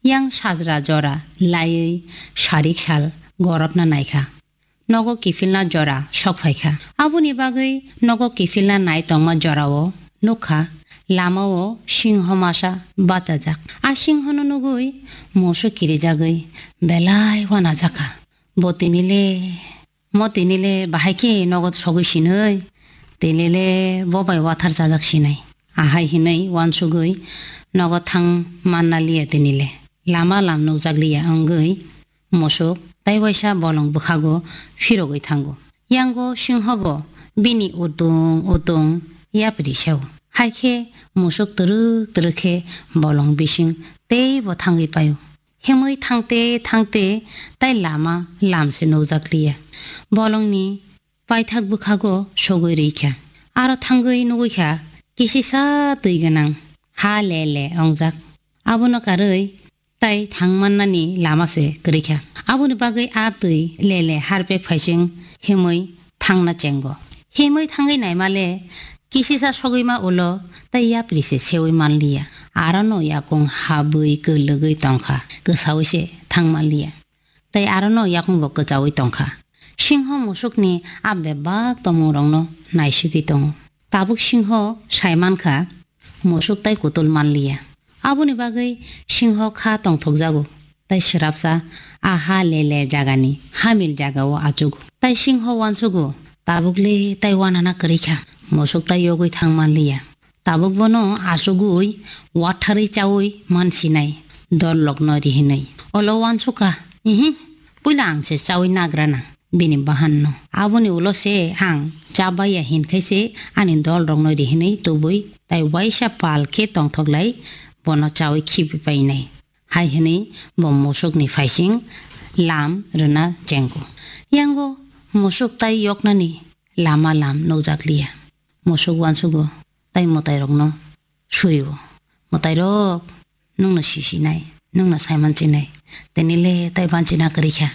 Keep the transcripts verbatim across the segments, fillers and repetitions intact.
Yang sajra jora laiwi sarik sal gorobna naikha. Nogo kiphilna jora sok phaikha. Aboni bagwi nogo kiphilna nai tongma jorao nukha, lamao singho masa bachajak. A singhono nugwi musuk kirijagwi belai wanajakha. Bo tinile, mo tinile bahai khe nogo sogwi sinwi, tinile bo bai wathar chajak sinai. Ahai hinwi wansugwi nogo thang manna liya tinile. Lama lam nukjak liya wngwi musuk tai waisa bolong bwkhago phirogwi thango. Yango singho bo bini utung utung yapri sao. Hai khe musuk twrwk twrwk khe bolong bising tei bo thangwi paio. Himwi thangte thangte tai lama lam se nukjak liya. Bolongni paithak bwkhago sogwi rwikha. Aro thangwi nugwikha kisisa twi gwnang ha le le ongjak. Abono karwi tai thangmannani lama se kwrwikha. Aboni bagwi a twi le le harpek phaising himwi thangna chengo. Himwi thangwi naima le kisisa sogwi ma ulo tai yapri se sewi manliya. Arono yakung habwi kwlwgwi tongkha, kwsawi se thang manliya. Tai arono yakung bo kwchawi tongkha. Singho musukni a bebak tongmungrokno naisigwi tongo. Tabuk singho sai mankha, musuk tai kutul manliya. Aboni bagwi singho kha tongthokjago, tai swrapsa a ha le le jagani hamil jagao achugo. Tai singho wansugo, tabukle tai wanana kwrwikha, musuk tai yogwi thang manliya. Tabuk bono achugwi watharwi chawi mansinai, dol lokno rihinwi. Olo wansukha, ihi, puila ang se chawi nagrana. Bini bahanno. Aboni ulo se ang chabaiya hinkhai se ani dol rokno rihinwi tubui tai waisa pal khe tongthoklai bono chawi khibi painai. Hai hinwi bo musukni phaising lam rwna chengo. Yango musuk tai yoknani lama lam nukjakliya. Musuk wansugo tai mwtairokno surio. Mwtairok, nwngno sisinai, nwngno saiman chinai, tini le tai banchina kwrwikha.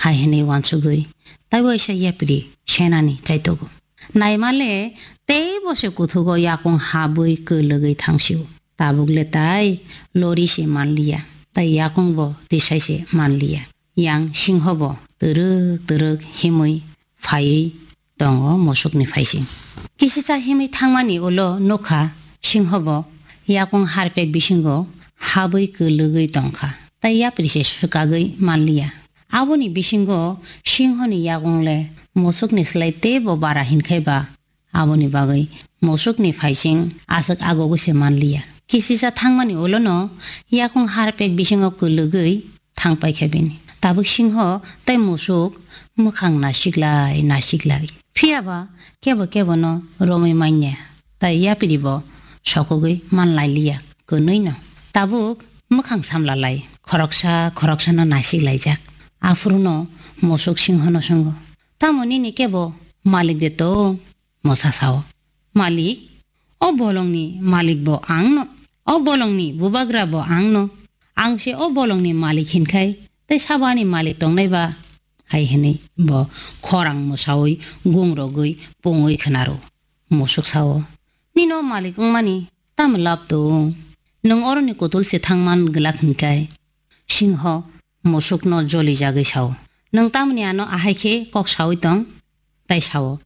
Hai hinwi wansugwi tai waisa yapri senani chaitogo. Naima le teibo se kuthugo yakung habwi kwlwgwi thangsio. Tabuk le tai lori se manliya, tai yakung bo tisai se manliya. Yang singho bo twrwk twrwk himwi phaiwi tongo musukni phaising. Kisisa himwi thangmani ulo nukha singho bo yakung harpek bisingo habwi kwlwgwi tongkha, tai yapri se swkagwi manliya. Aboni bisingo singhoni yakung le musukni slai teibo bara hinkhai ba, aboni bagwi musukni phaising aswk agogwi se manliya. Kisisa thangmani ulono yakung harpek bisingo kwlwgwi thang paikha bini. Tabuk singho tai musuk mwkhang nasiklai nasiklai. Phiya ba kebo kebono romwi manya, tai yapri bo sokogwi manlailiya kwnwino. Tabuk mwkhang samlalai khoroksa khoroksano nasiklaijak. Aphuruno musuk singhono swngo, "Tamo nini kebo malik de tong?" Mosa sao, "Malik, o bolongni malik bo ang no, o bolongni bubagra bo ang no. Ang se o bolongni malik hinkhai, tei sabo ani malik tongnai ba?" Hai hinwi bo khorang mosawi gung rogwi pungwi khwnaro. Musuk sao, "Nino malik wngmani tamo lab tong? Nwng oroni kutul se thangman glak hinkhai." Singho musukno jolijagwi sao, "Nwng tamoni ano ahai khe kok saui tong?" Tai sao,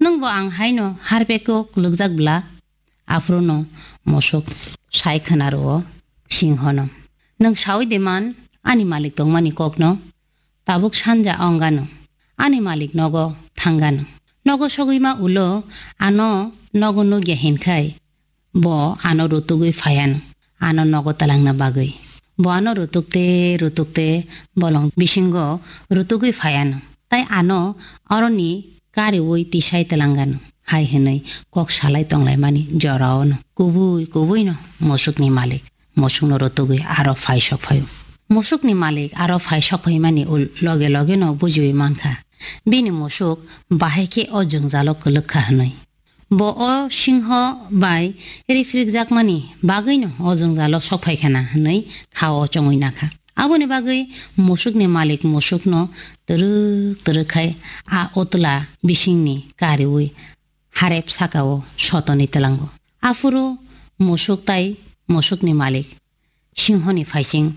"Nwngbo ang haino harpeko kwlwkjak bla?" Aphuruno musuk sai khwnaro singhono, "Nwng saui de man ani malik tongmani kokno? Tabuk sanja ongano, ani malik nogo thangano. Nogo sogwi ma ulo ano nogo nukya hinkhai, bo ano rutugwi phaiano, ano nogo twlangna bagwi. Bo ano rutukte rutukte bolong bisingo rutugwi phaiano, tai ano oroni kariui tisai twlangano," hai hinwi kok salai tonglaimani joraono kubui kubuino musukni malik musukno rutugwi aro phai sok phaio. Musukni malik aro phai sok phaimani ul-, loge logeno bujiui mankha, bini musuk bahai khe o jwngjalo kwlwkha hwnwi. Bo o singho bai rifrikjakmani bagwino o jwngjalo sok phai khana hwnwi khao chongwi nakha. Aboni bagwi musukni malik musukno twrwk twrwk khai a utla bisingni kariui harep sakao sotoni twlango. Aphuru musuk tai musukni malik singhoni phaising